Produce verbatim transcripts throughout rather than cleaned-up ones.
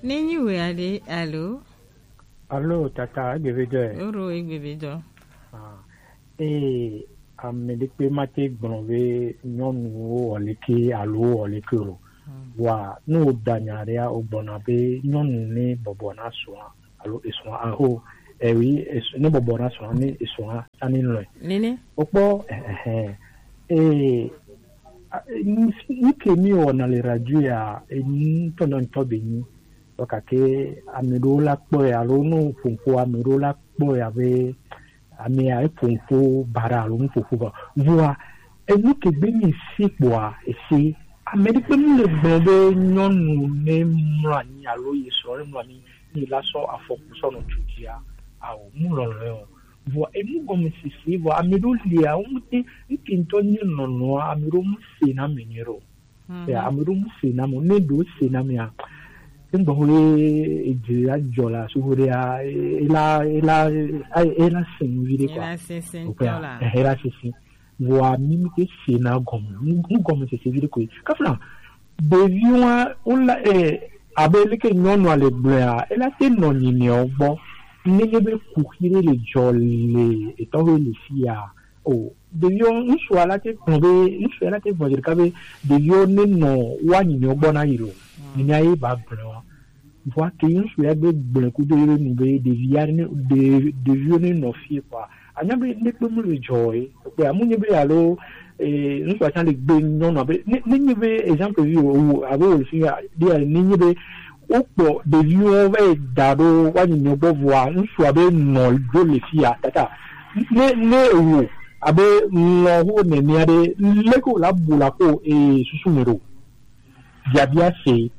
Ne nyi we aɖe alo? Alo tata, egbe be dɔ ɛ. Oro egbe be dɔ. Ah, ee, ame ɖekpe ma te gblɔ be nyɔnuwo wɔ leke alo wɔ leke o. Hmm. Wa ne wo da nya ɖea, wo gbɔna be nyɔnu ne bɔbɔ na srɔ̃a alo esrɔ̃a aho, eh oui, es-, ne bɔbɔ na srɔ̃a ne esrɔ̃a sani lɔe. Nene. Okpɔ, eh, eh, eh. Eh, a, eh, nu, nu ke mi wɔna le radio ya, eh, nu ŋutɔ ŋutɔ be nyi. Vɔ gake ame ɖewo la kpɔe alo ne woƒo nu ƒo ame ɖewo la kpɔe abe amea eƒo nu ƒo baɖa alo nu ƒoƒo va. Vɔa enu ke gbe mi si kpɔa esi ame ɖe kpe mu le gblɔ be nyɔnu ne mlɔ anyi alo ye srɔ̃ ne mlɔ anyi ne la sɔ afɔ ku sɔ nɔ tu dzia ao mu lɔlɔe o. Vɔa enu gɔme sese vɔ ame ɖewo lia wo ŋute ŋke ŋutɔ nye nɔnɔa ame ɖewo mu se na me nyuie ɖo. Hmm. Ya, ame ɖewo mu se na mo, ne ɖewo se na mea, egbɔ ho ye edze la dzɔ la, so ho ɖea, ela, ela, ela se nu vi ɖe kɔ. Ela se se ŋutɔ la. Eh, ela se se. Vɔa mi mi ke se na gɔme, nu, nu gɔme se se vi ɖe koe. Kafla, ɖeviwo wa, wo la, eh, abe leke nyɔnua le gblɔea, ela te nɔ nyinɛwo gbɔ. Nenye be kuxi ɖe le dzɔ le etɔ ho le fia, o, ɖeviwo, ŋutsua la te gblɔ be, ŋutsua la te gblɔ ɖeka be, ɖeviwo ne nɔ wa nyinɔewo gbɔ na yi lo. Mm. Nyinɔe ye ba gblɔ wa. Vɔa ke ŋutsu ya gbe gblɔ kudo ye nu be, ɖevi ya ne, ɖe-, ɖeviwo ne nɔ fie kɔa, anya be ne kpe mu le dzɔ ye. Kpe amu nye be alo, eh, ŋutsua tsã le gbe nyɔnu abe, ne, ne nye be exemple vi o, o, abe o fi ya, ɖe ya, ne nye be, wokplɔ ɖeviwo va yi da ɖo woanyi nyɔgbɔ vɔa ŋutsua be nɔ ɖo le fia tata ne ne ewo abe ŋlɔ ho nɛnɛa ɖe leke wòle abu la ko eye susu me ɖo biabia se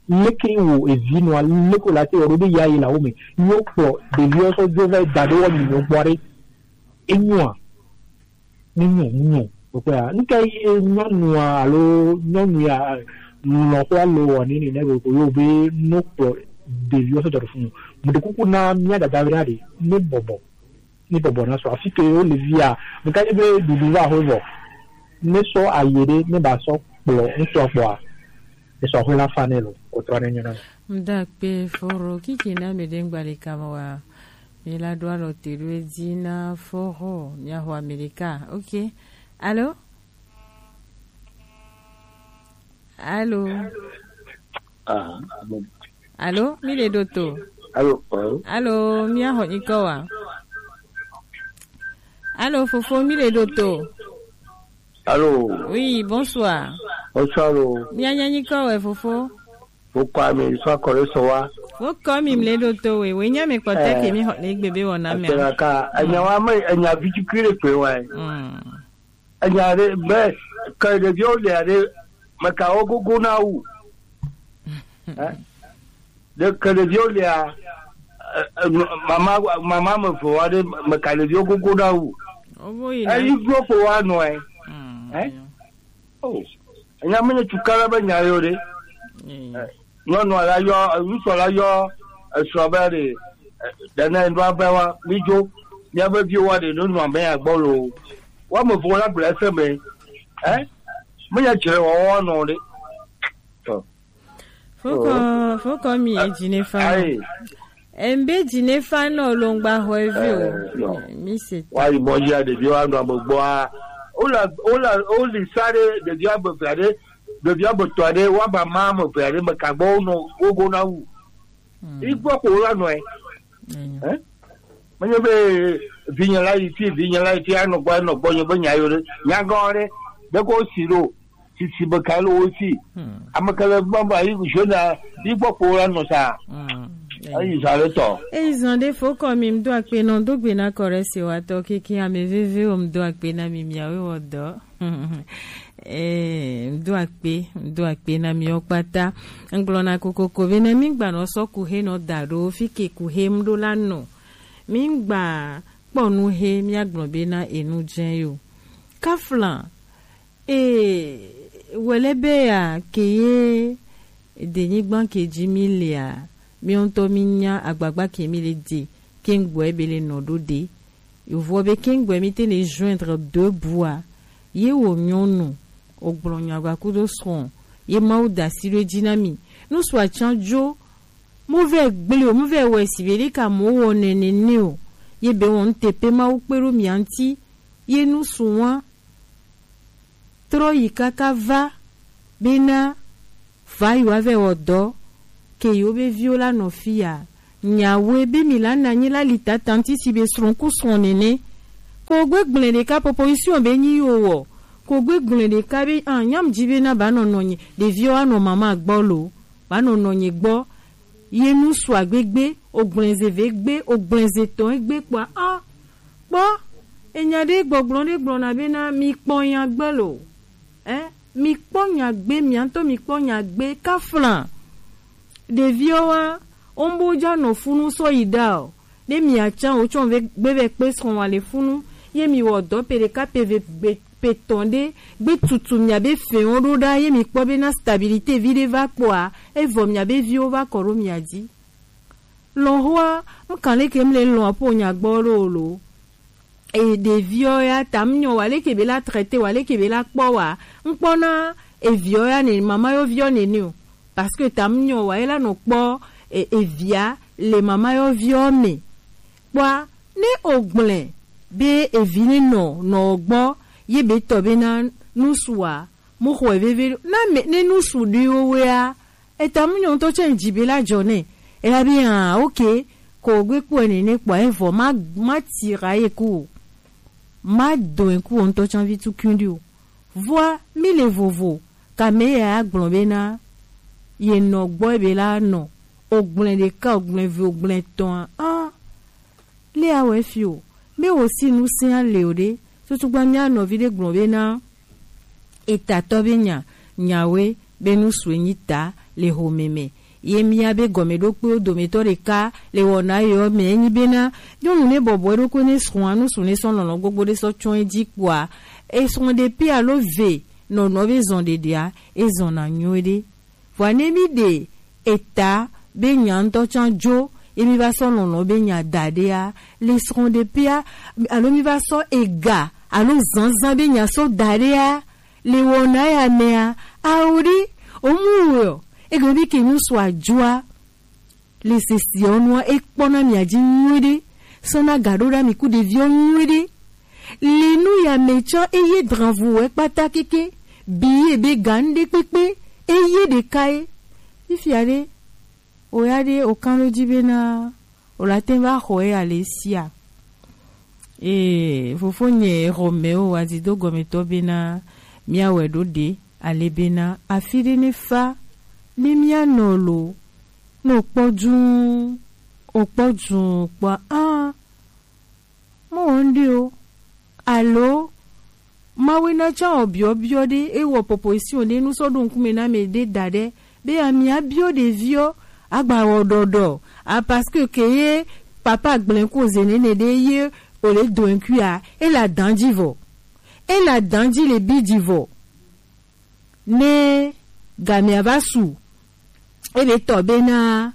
leke wo evi nɔa leke wòle ate wɔ ɖo be ya yi la wo me ye wokplɔ ɖeviwo sɔ dzo va yi da ɖo woanyi nyɔgbɔ ɖe enyoa. Mu nyo, mu nyo. Kpekpea, nuka ye nyɔnua alo nyɔnu ya lɔ̃xo alo wɔ nini ne ko yo be no kplɔ ɖeviwo sɔ dɔ ɖe funu? Meɖe kuku na mía dada ɖe ne bɔbɔ, ne bɔbɔ na sɔ afi ke wo le via. Meka ye be ɖuɖu va ho vɔ. Ne sɔ aye ɖe ne ba sɔ kplɔ ŋutɔ kpɔa, esɔ ho la fa ne lo, o trɔ ne nyɔ na. Mda kpe foro kiki na me ɖe ŋgba le kama wa. Mi la ɖo alɔ te ɖo edzi na fɔxɔ miaxɔ Amerika. Ok. Alo? Alo? Ah, alo. Alo, mi le ɖo to? Alo, alo. Alo, miaxɔ nyikɔ wa? Alo, fofo, mi le ɖo to? Alo. Oui, bonsoir. Bonsoir, alo. Mianya nyikɔ wɛ, fofo? Fo kɔ ami sɔ akɔ ɖe sɔ wa. Fo kɔ mi mle ɖo to we, we nya mi kpɔtɛ ke mi xɔ le gbe be wɔna mi. Atɛna ka, enya wa me, enya vi tukui ɖe kpe wa. Mm. Enya ɖe be, ke ɖeviwo le aɖe, meka wo gogo na wu. Eh? Ɖe ke ɖeviwo lia, eh, eh, mama, mama me eve wa ɖe, meka ɖeviwo gogo na wu. Obo yi na. Eyi glo ko wa nɔ, eh? Mm, eh? Oh, enya menye tukala be nya yo ɖe. Mm. Eh, nyɔnua la yɔ, ŋutsu la yɔ esrɔ̃ be ɖe, eh, ɖe ne nua be wa, mi dzo, míabe viwo wa ɖe, ne nua me agbɔ lo. Wa me vo la gblɔ ese me. Eh? Menye dzre wɔwɔ nɔ ɖe. Tɔ. Fokɔ, fokɔ mi edzi ne fa. Ayi. Embe dzi ne fa nɔ lo ŋgba xɔ evi o. Eh, no. Mi se. Wa yi mɔ ya ɖevi wa nɔ ame gbɔa. Wola, wola, woli sa ɖe ɖevi ame eve aɖe, ɖevi ame etɔ̃ aɖe, wa ba ma ame eve aɖe me ka gbɔ wonɔ wogo na wu. Hmm. Igbɔ ko la nɔe. Enyo. Eh? Menye be vinye la yi fi, vinye la yi fi, anɔ gbɔ, anɔ gbɔ, nye be nya yo ɖe. Nya gã ɖe, ɖe ko si ɖo. Sisi be ka le wo si. Hmm. Ame ke le gbɔ ba yi zona yi gbɔ kpo la nɔ sa. Hmm. Eyi zã ɖe tɔ. Eyi zã ɖe fo kɔ mi do akpe nɔ do gbe na kɔ ɖe se wa tɔ keke ame veve o do akpe na mi miawe wɔ dɔ. Eh, do akpe, do akpe na mi o kpata. Ngblɔ na kokoko be na mi gba nɔ sɔ ku he nɔ da ɖo fi ke ku he m ɖo la nɔ. Mi gba kpɔ nu he mi agblɔ be na enu dze yo. Kafla Ee, wele be ya ke ye denyigba ke dzi mi lea, mi ŋutɔ mi nya agbagba ke mi le de, ke ŋgbɔe be le nɔ ɖo de. Yovoɔ be ke ŋgbɔe mi te le joindre deux bouts a, ye wo nyɔnu, o gblɔ nya gba kudo srɔ̃, ye Mawu da asi ɖo edzi na mi. Nu sɔ atsa dzo, Mu vɛ gble o, mu vɛ wɛ si be ɖe ka mo wɔ nɛnɛ nɛ o. Ye be wɔn te pe Mawu kpe ɖo mia ŋuti. Ye nu su wa trɔ yi kaka va bena va yi wa vɛ wɔ dɔ ke yewo be viwo la nɔ fi ya. Nyawe be mi la na nyi la li tata ŋuti si be srɔ̃ ku srɔ̃ nɛnɛ. Ko gbe gblẽ ɖeka proposition be nyi yo wɔ. Ko gbe gblẽ ɖeka be ah nyam dzi bena ba nɔ nɔnyi ɖeviwo anɔ mama gbɔ lo. Ba nɔ nɔnyi gbɔ. Ye nu sua gbegbe, ogblẽze ve gbe, ogblẽze tɔn egbe kpɔa ah kpɔ enya ɖe gbɔgblɔ ɖe gblɔna bena mi kpɔ nya gbe lo. Eh, mi kpɔ nya gbe, mia ŋutɔ mi kpɔ nya gbe kafla. Ɖeviwo wa, wo bo dza nɔ funu sɔ yi ɖa o. Ne mia tsã wo tsɔ ve gbe vɛ kpe srɔ̃ wa le funu, ye mi wɔ dɔ pe ɖeka pe ve gbe pe tɔn ɖe gbe tutu mia be fɛn wo ɖo ɖa ye mi kpɔ bena stabilité vi ɖe va kpɔa, evɔ mia be viwo va kɔ ɖo mia dzi. Lɔn hoa, ŋkan leke mle lɔn apo nya gbɔ ɖo o lo. E ɖeviwo ya ta mu nyɔ wa leke be la traité wa leke be la kpɔ wa. Ŋkpɔ na eviwo ya ne mama yo viwo ne ni o. Parce que ta mu nyɔ wa ela nɔ kpɔ e, evia le mama yo viwo me. Kpɔa ne ogblẽ be evi ne nɔ nɔ gbɔ ye be tɔ be na nusu wa mu xɔe veve na me ne nusu ɖi wo wea. Eta mu nyɔ ŋutɔ tsɛ ŋdzi be la dzɔ nɛ. Ela be ah ok ko gbe kpɔ ene ne kpɔ evɔ ma ma tira ye ku o. Ma dɔn ku o ŋutɔ tsã vi tu kundi o. Vɔa mi le vovo kame ya gblɔ be na ye nɔ gbɔ be la nɔ ogblẽ ɖeka ogblẽ ve ogblẽ tɔn ah. Lé awɛ fi o. Be wo si nu sia le o ɖe. Tutugba mia nɔvi ɖe gblɔ be na etatɔ be nya nyawe be nu sue nyi ta le home me. Ye mia be gɔme ɖo kpe wo dometɔ ɖeka le wɔna yɔ me enyi be na nyɔnu ne bɔbɔ ɖo kpe ne srɔ̃a nu su ne sɔ lɔlɔ gbogbo ɖe sɔ tsɔ edzi kpɔa esrɔ̃ ɖe pe alo ve nɔnɔ be zɔn ɖeɖea ezɔn na nyuie ɖe. Vɔa ne mi ɖe eta be nya ŋutɔ tsã dzo ye mi va sɔ lɔlɔ be nya da ɖea le srɔ̃ ɖe pia alo mi va sɔ ega alo zanzan be nya sɔ da ɖea le wɔna ya mea awo ɖi omu wɔ ege bi ke nu sɔ adzoa le sesi ɔnua ekpɔna mia dzi nyuie ɖe sɔna ga ɖo ɖa mi ku ɖeviwo nyuie ɖe. Le nu ya me tsã eye dranvu wɛ kpata keke bi ye be ga ŋɖe kpekpe eye ɖeka ye. Fifia ɖe o ya ɖe o kan ɖo dzi be na o la te va xɔ ye ale sia. Ee, fofo nye xɔ me o wa zido gɔmetɔ be na mia wɛ ɖo ɖe ale be na afi ɖe ne fa ne mia nɔ lo. Ne o kpɔ duu o kpɔ duu kpɔa ah. Mɔ wɔn ɖi o. Alo mawe na tsã wɔ biɔ biɔ ɖe e wɔ proposition ɖe nu sɔ ɖo ŋkume na me ɖe da ɖe be ami abiɔ ɖeviɔ agba wɔ ɖɔɖɔ a parce que ke ye papa gblẽ ko ze nene ɖe ye o le doin kui a e la dan dzi vɔ e la dan dzi le bi dzi vɔ ne gamia va su ebe tɔ be na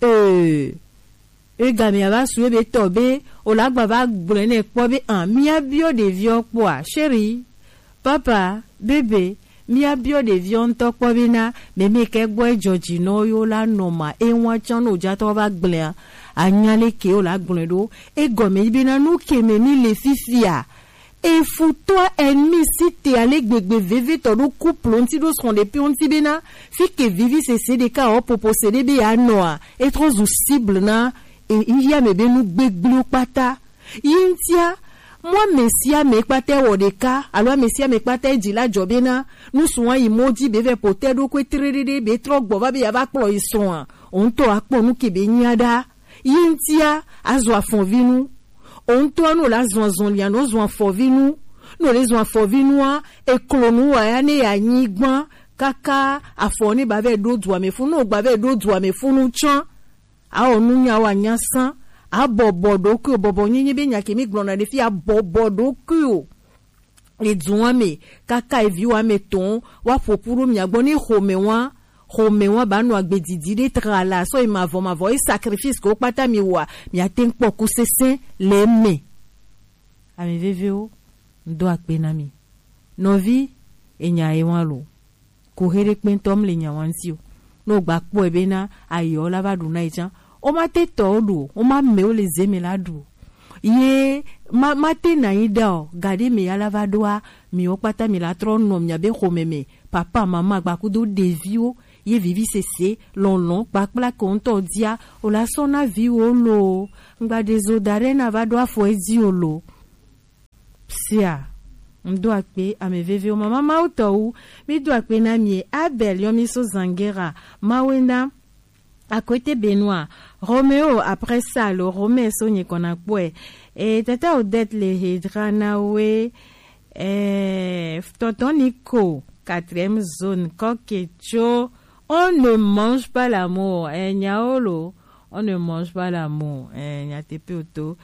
ee egamia va su ebe tɔ be o la gba va gblɔe nɛ kpɔ be an mia biɔ ɖeviɔ kpɔa chéri papa bebe mia biɔ ɖeviɔ ŋutɔ kpɔ be na mɛmɛ kɛ gbɔ ejɔ dzi nɔ yo la nɔ ma ewa tsã no jatɔ va gblɔe anya le ke o la gblɔe ɖo egɔme yi be na nu ke me mi le fifia Efutɔa ennemi si te ale gbegbe vevetɔ ɖo couple ŋuti ɖo srɔ̃ɖepiwo ŋuti bena fike vivi sese ɖeka ɔ popo se ɖe be ya nɔa etrɔ zu cible na e- yi ame be nu gbegbliwo kpata yi ŋutia mu ame sia ame kpata wɔ ɖeka alo ame sia ame kpata dzi la dzɔ bena nusu wa yi mɔ dzi be vɛ potɛ ɖo koe tre ɖe ɖe be trɔ gbɔ va be ya va kplɔ yi srɔ̃a o ŋutɔ akpɔ nu ke be nyia ɖa Yi ŋutia azɔ afɔvinu. O ŋutɔ ne wòle azɔ azɔlia, ne wòzɔ afɔvinu. Ne wòle zɔ afɔvinua, eklonu wa ya ne yeanyi gbã kaka afɔ ne ba vɛ ɖo dua me funu. Ne wògba vɛ ɖo dua me funu tsã, awɔ nunya wa nya sã. Abɔbɔ ɖokuiwò, bɔbɔ nyenye be nya ke mi gblɔna ɖe fi, abɔbɔ ɖokuiwò. Le du wa me kaka evi wa me tɔn wa ƒoƒu ɖo mia gbɔ ne xɔme wa xɔme wa ba nɔ agbe didi ɖe tra la sɔ yi mavɔ mavɔ yi sacrifice ko kpata mi wa mia te kpɔ ku sese le me. Ame vevewo ŋdɔ akpe na mi. Nɔvi enya ye wa lo. Ko he ɖe kpɛntɔ mle nya wa ŋuti o. Ne wogba kpɔe bena ayiɔ la va ɖu na yi tsã, womate tɔ wo ɖu o, woma mɛwo le ze me la ɖu o. Ye ma, mate na yi ɖa o, gaɖe me ya la va ɖoa, miwo kpata mi la trɔ nɔ miabe xɔme me, papa, mama, gbakudo ɖeviwo, ye vivi sese, lɔlɔ, kpakpla ke ŋutɔ dia, o la sɔ na viwo lo, ŋgba ɖe zo da ɖe na va ɖo afɔ edzi o lo. Sia, ŋdo akpe ame vevewo, mama Mawu tɔwu, mi do akpe na mi, Abel yɔ mi so Zangera, Mawu na, Akwete Benoît, Romeo, après ça, le Romain so nye kɔna kpɔe. Et tata Odette le hedra na we, eh, tonton Nico, quatrième zone, Koketcho, on ne mange pas l'amour, eh, nyaolo, on ne mange pas l'amour, eh, nyatepe oto.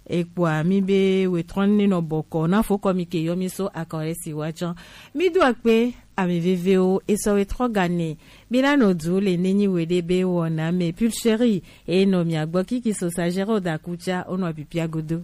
Ekpoa mi be wetrɔn ne nɔ bɔkɔ na fo kɔ mi ke yɔ mi so akɔre si wa tsɔn. Mi do akpe ame vevewo, esɔ wetrɔ gane. Mi la nɔ du le nenyi we ɖe be wɔna me pulcherie e nɔ mia gbɔ kiki so sagere o da kutsa o nɔ pipia godo.